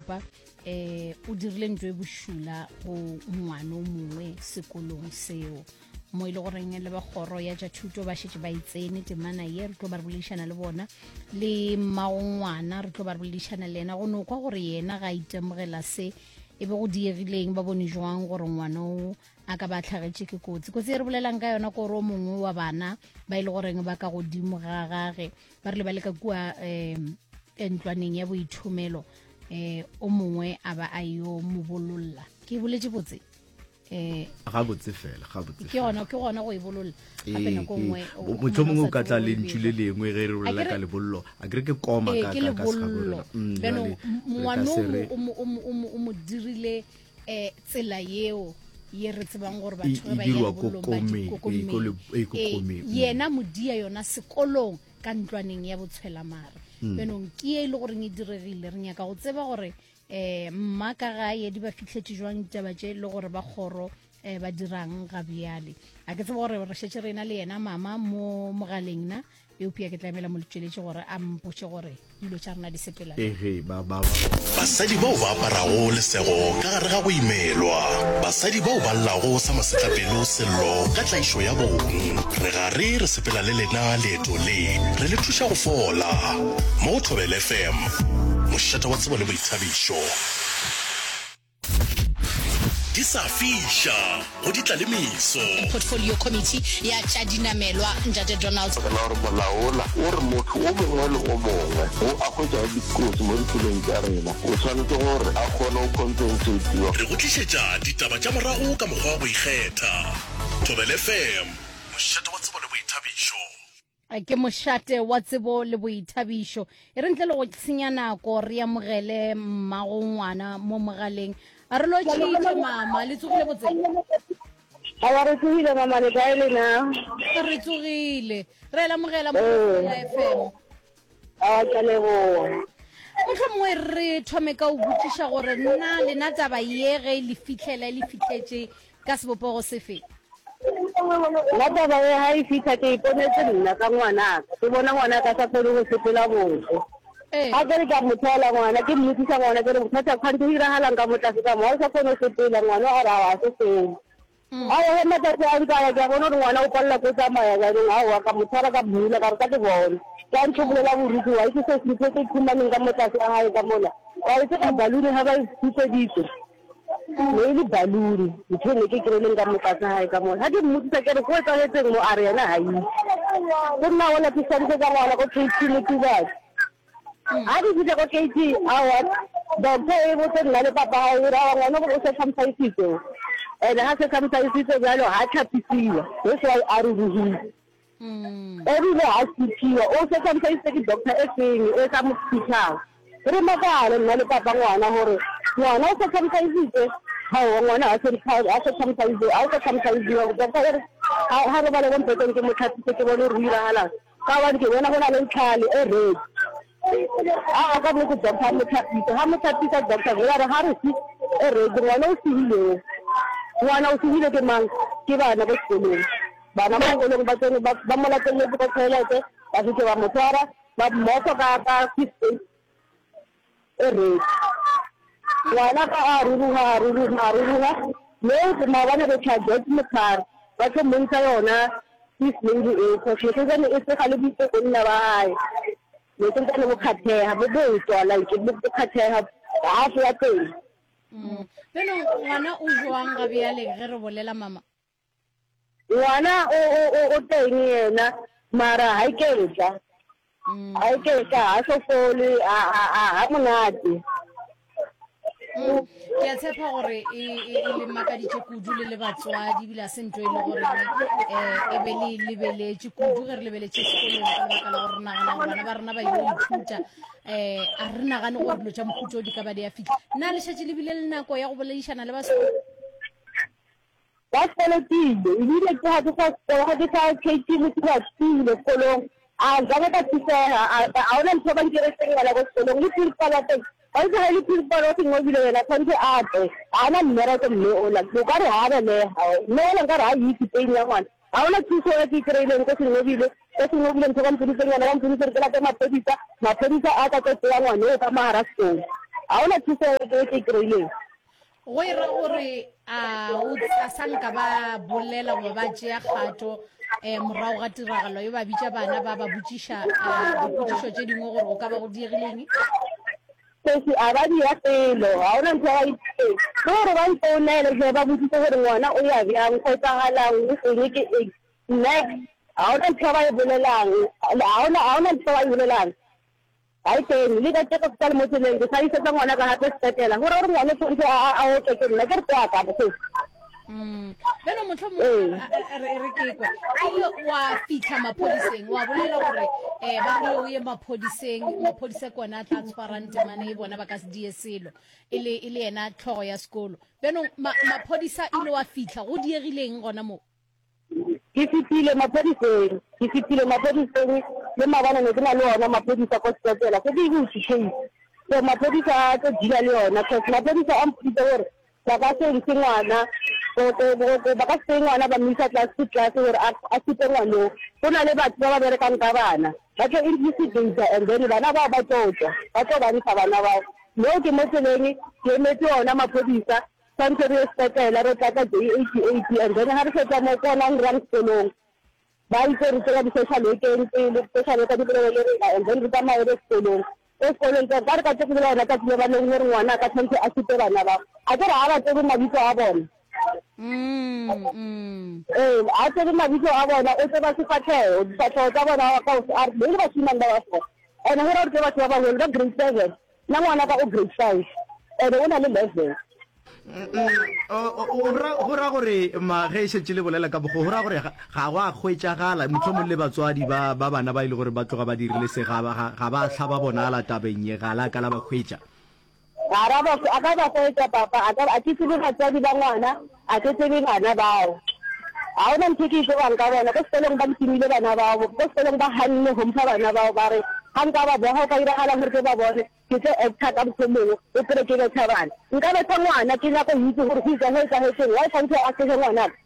šupa um o dirile ntlo e bošula go ngwana o mongwe sekolong seo mo e le goreng le ba kgoro ya tša thuto ba šetše ba itsene temana ye re tlo ba re boledišana le bona le mmago ngwana re tlo ba re boledišana le yena go no kwa gore yena ga a itemogela se e be go diegileng ba bone jwang gore ngwana o a ka ba tlhagetše ke kotsi kotsi e re bolelang ka yona kore o mongwe wa bana ba e le goreng ba ka godimo ga gage ba rile ba le ka kua um ntlwaneng ya boithomelo um o mongwe a ba a yo mo bololla ke boletše botse eh gabotse fela gabotse ke gona ke gona go e bololla gape nako nngwe motho mongwe o ka tla lentšu le lengwe ge re bolela ka lebollo a kere ke koma ka ka ka lebollo bjano ngwano o mo dirile eh tsela yeo ye re tsebang gore batho ba ya lebollong ba dikokomeng yena modia yona sekolong ka ntlwaneng ya botshwelamare bjanong ke ye e le goreng e diregile re nyaka go tseba gore um mma ka gae di ba fihletše jwang ditaba tše le gore ba kgoro um ba dirang ga bjale a ke tsebe gore re šetše re na le yena mama mo mogaleng na eupša ke tlamela mo letšweletše gore a mpotše gore dilo tša rena di sepela Ege, ba, ba, ba. Basadi bao ba aparago lesego ka gare ga go imelwa. Basadi bao ba llago sa masetlapelo sello ka tlaišo ya bong. Re gare re sepela le lena leeto le, re le thuša go fola. Mo go Thobela FM, mošate wa tsebo le boithabišo. Di sa fiša, go di tla le meso. Portfolio Committee ya tša dinamelwa, Ntate Donald. Ka la gore molao wola o re motho o mongwe le o mongwe wo a hwetšago dikotsi mo ditseleng tša rena o swanetše gore a kgone go compensatiwa. Re go tlišetša ditaba tša morago ka mokgwa wa go ikgetha. Thobela FM, mošate wa tsebo le boithabišo. Ke mošate wa tsebo le boithabišo. E re ntle le go senya nako re amogele mmago ngwana mo mogaleng. A re lotšhitše mama, le tsogile botse? Awa re tsogile mama, le kae lena? Re tsogile. Re a lamogela mo Thobela FM. Awa ke a leboga. Mohlomongwe re thome ka o botšiša gore nna lena taba ye ge e le fihlela e le fihletše Ka sebopego sefe? Nna taba ye ga e fihla ke iponetse nna ka ngwanaka, ke bona ngwanaka a sa kgone go sepela botse. Ga ke re ke a mo thola ngwana, ke mmotsisa ngwana ke re bothata kganthe go diragalang ka mo tlase ka mo, ga o sa kgone go sepela, ngwana a re aowa ga se selo. Aowa ge matsatsi a ntse a ya ke a bona gore ngwana o palela ke go tsamaya jaanong aowa ka mo tshwara ka mmula ka re tla ke bone. Ke a ntlhobolela borukhu wa itse se ntho e ke ikhumaneng ka mo tlase ga gae ka mola, wa itse ka balloon ga ba e khupeditse. Ne e le balloon ntho e ne ke kry-ileng ka mo tlase gae ka mo. Ga ke mmotsisa ke re go etsagetseng mo a re yena ga itse. Go nna gola ke swantšhetsa ngwana ko KT Motubatse. Ga ke fitlha ko KT aowa doctor e botse nna le papa gae e re aowa ngwana o circumcisitswe o. And ga circumcisitswe bjalo ga tlhapisiwa that's why a ruruhile. Ebile ga sithiwa o circumcisitse ke doctor e feng e sa mo sithang. Re makale nna le papa ngwana gore ngwana o circumcisitse gaowa ngwana ga circumcise ga o circumcisiwa doctor e re ga robale ko mpeteng ke mo tlhapise ke bone gore o iragalang ka gobane ke bona go na le ntlhale e red. Aa ka nnete doctor a mo tlhapisa ga mo tlhapisa doctor vele a re ga re se e red ngwana o sehile o ngwana o sehile ke mang ke bana ko sekolong. Bana ba sekolong ba tsene ba ba mo lateletse ko toilet, ba fihle ba mo tshwara, ba mmofa ka ka first aid e red. Ngwana ga a ruruga a ruruga a ruruga, moo maobane re tšha George Motshwari ba tlo montsha yona first aid eo cause ne santsane e sega le bonna ba hae, ne santsane bo kgatheha bo botswa like bo kgatheha half ya teng. Bjalo ngwana o jwang ga bjale ge re bolela mama? Ngwana o o o o teng yena mara ha iketla. Ha iketla ha so fole ha ha ha ha monate. Ke a tshepa gore e e e le makaditše kudu le le batswadi ebile a se ntho e le gore um e be le lebeletše kudu ge re lebeletše sekolong ka lebaka la gore re nagana gore bana ba rena ba ile go ithuta um a re nagane gore dilo tša mohuta o di ka ba di a fitlha. Na le šetše le bile le nako ya go boledišana le ba sekolo? Ba sekolotile ebile ke ga ke sa ga ke sa KT le ke ba tsile sekolong a zange ka thusega a ona ntho ba ntiretseng yona ko sekolong le principal wa teng ba itse ga e le principal wa Sengobile yena tshwanetse a tle ga ana mmereko mme ola o ka re ga belega mme ola nkare ga itse pain ya ngwana ga ona thuso e ke e kry-ileng ko Sengobile ko Sengobile ntho ba mpoditseng yona ba mpoditse gore ke late maphodisa maphodisa a tla tlo tseya ngwana o ka mogara sekolo. Ga gona thuso e ke e kry-ileng. Go e ra gore a o a sa nka ba bolela goba ba tšea kgato um morago ga tiragalo e ba bitša bana ba ba botšiša eh, dipotšišo tše dingwe gore go ka ba go diegileng? Sesi, a ba dira selo, ga gona ntho ba e dirileng. Le gore ba nfounele hle ba botšiše gore ngwana o ya bjang, go etsagalang, go eng ke eng. Nex, ga gona ntho ba e bolelang, ga gona ga gona ntho ba e bolelang. Ga e teng, le ka tšeko ke sa le mo tseleng, ke sa isetsa ngwana ka gape sepetlela. Go ra gore ngwana o tshwanetse a a otlwe ke nna, ke re kwa ka sesi. Mm. Bjalo mohlomongwe Ee. a- a- a- re re ke kwe ile wa fitlha maphodiseng wa bolela gore um ba rile o ye maphodiseng maphodisa ke ona a tla tshwarang temane e bona ba ka se die selo e le e le yena tlhogo ya sekolo bjanong ma- maphodisa ile wa fitlha go diegileng gona moo Ke fetile maphodiseng, ke fetile maphodiseng le maabane ne ke na le ona maphodisa ko sepetlele, se ke e butše case. So maphodisa a tlo deala le yona cause maphodisa a mpoditse gore ba ka se ntshe ngwana ba ka se tseye ngwana ba mo isa class to class gore a supe ngwanoo. Go na le batho ba ba berekang ka bana, ba tlo investigate and then bana bao ba tlo tšwa, ba tlo ba ntsha bana bao. Moo ke mo tseleng ke emetse ona maphodisa Swantse re ye sepetlele re tlatsa J88 and then ha re fetsa mo ke gona re yang sekolong. Ba itse re tsena di-social workeng pele, di-social worker di bolele le rena and then re tsamaye re ye sekolong. Ko sekolong ka re ka tlo go bolela yona tsatsi le ba leng gore ngwana a ka tshwanetse a supe bana ba. A ke re ha ba tsebe mabitso a bona. Ee, ha tsebe mabitso a bona, o tseba sefatlhego, difatlhego tsa bona a re be le bashimane ba ba so. And go ra gore ke batho ba baholo ba grade 7. Nna ngwanaka o grade 5 and o na le 11. Go ra gore ma ge e šetše le bolela ka bogo, go ra gore ga go a hwetšagala mohlomong le batswadi ba ba bana ba e le gore ba tloga ba dirile se ga ba ga ba hla ba bonala tabeng ye, ga la ka la ba hwetša. Ga ra ba a ka ba hwetša papa, a ka a ke tsebe batswadi ba ngwana, a ke tsebe bana bao. Ga gona ntho e ke e tsebang ka bona, ko sekolong ba ntimile bana bao, ko sekolong ba ganne go mpha bana bao, ba re ga nka ba boga go ka iragala gore ke ba bone, ke tlo actor ka mokgwa o mongwe, o kry-e ke betha bana. Nka betha ngwana, ke nyaka go itse gore go itsa go etsagetseng, why tshwanetse a sege ngwanaka?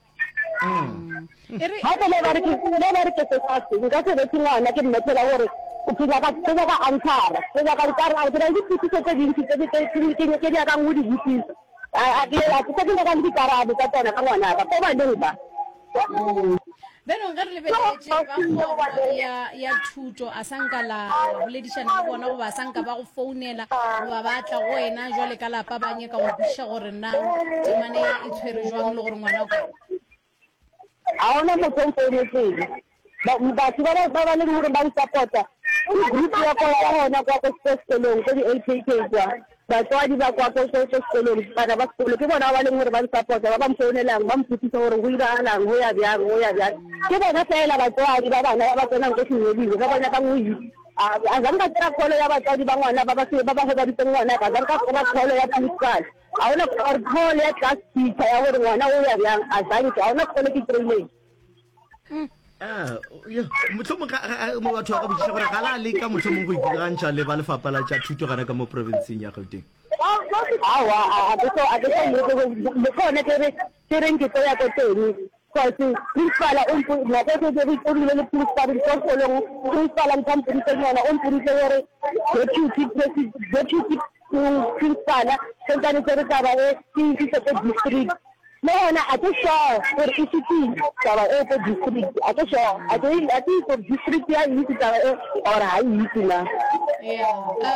Gape le ba re ke le ba re ke sesase, nka se bethe ngwana ke mmethela gore ke nyaka ke nyaka answer-a, ke nyaka dikarabo, ke na le dipotsiso tse dintsi tse ke ke nyakang go di botsisa. A ke a ke ke nyaka le dikarabo tsa tsona ka ngwanaka, ko baneng ba. Bjanong ge re lebeletše ba kgoro ya, ya thuto, a sa nka la boledišana le bona goba a sa nka ba go founela goba ba tla go wena jwale ka lapa ba nyaka go kwešiša gore na temane e tshwere jwang le gore ngwana o kae? Ga gona motho o mfounetseng. Batho ba ba ba leng gore ba nsapota ke group ya kwa ya gona kwa ko sekolong ko di-A_K_K kwa. Batswadi ba kwa ko ko sekolong, bana ba sekolo ke bona ba ba leng gore ba nsapota, ba ba mfounelang ba mpotsisa gore go iragalang, go ya bjang, go ya bjang. Ke bona fela batswadi ba bana ba ba tsenang ko Senyolile ba ba nyakang go itse. A zanka kry-a call ya batswadi ba ngwana ba ba ba ba gobaditseng ngwanaka, a zanka kry-a call ya principal. Ga gona or call ya class teacher ya gore ngwana o ya bjang, a zanke, ga gona call e ke kry-ileng. Ah, mohlomong mo batho ba ka botšiša gore ga la leka mohlomong go ikgantšha le ba lefapha la tša thuto gana ka mo provinceng ya Gauteng. Aowa, a ke so a ke so leke le gone ke re ke reng ke tlo ya ko teng cause principal o mpo nako e ke ke rile le principal ko sekolong principal ntho a mpoditseng yona o mpoditse gore deputy president deputy principal santsane tsere taba e ke isise ko district. Le gona a ke sure gore e fetile taba eo ko district, a ke sure, a ke a ke itse gore district ya e itse taba e or ga e itse na. Yeah.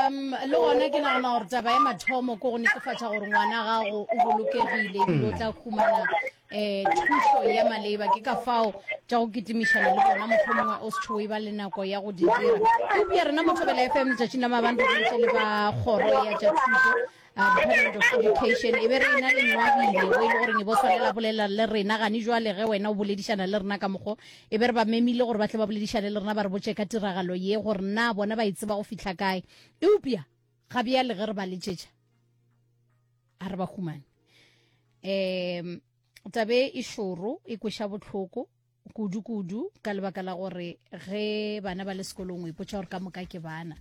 Um, le gona ke nagana gore taba ya mathomo ke go netefatša gore ngwana gago o bolokegile ebile o tla humana um thušo ya maleba. Ke ka fao tša go kitimišana le bona mohlomongwe o se tšhoe ba le nako ya go di dira. Eupša rena mo Thobela FM letšatšing la maabane re boletše le ba kgoro ya tša thuto Department of Education e be re ena le Nwabile o e le goreng e bo swanela bolela le rena gane jwale ge wena o boledišana le rena ka mokgo e be re ba memile gore ba tle ba boledišane le rena ba re botše ka tiragalo ye gore na bona ba e tseba go fihla kae eupša ga bjale ge re ba letšetša a re ba humane um tabe e šoro e kweša bohloko kudu-kudu ka lebaka la gore ge bana ba le sekolong o ipotša gore ka moka ke bana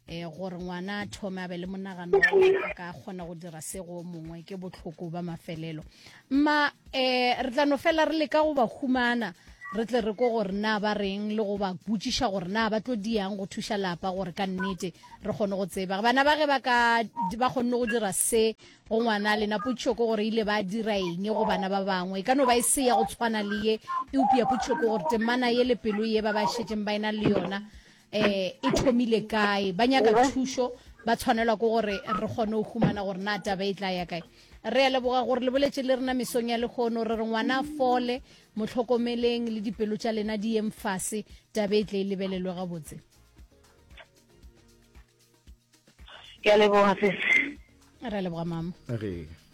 um gore ngwana a thome a be le monagano wa gore a ka kgona go dira se go mongwe ke bohloko ba mafelelo mma um re tla no fela re leka go ba humana. re tle re ko gore na ba reng le go ba botšiša gore na ba tlo diang go thuša lapa gore ka nnete re kgone go tseba bana ba ge ba ka ba kgonne go dira se go ngwana lena. Potšišo ke gore ile ba dira eng go bana ba bangwe? E ka no ba e se ya go tshwana le ye, eupša potšišo ke gore temana ye le pelo ye ba ba šetšeng ba ena le yona um e thomile kae? Ba nyaka thušo, ba tshwanelwa ke gore re kgone go humana gore na taba e tla ya kae. Re a leboga gore le boletše le rena mesong ya lehono. Re re ngwana a fole, mo hlokomeleng le dipelo tša lena di yeng fase, taba e tle e lebelelwe gabotse. Ke a leboga sesi. Re a leboga mama. Re.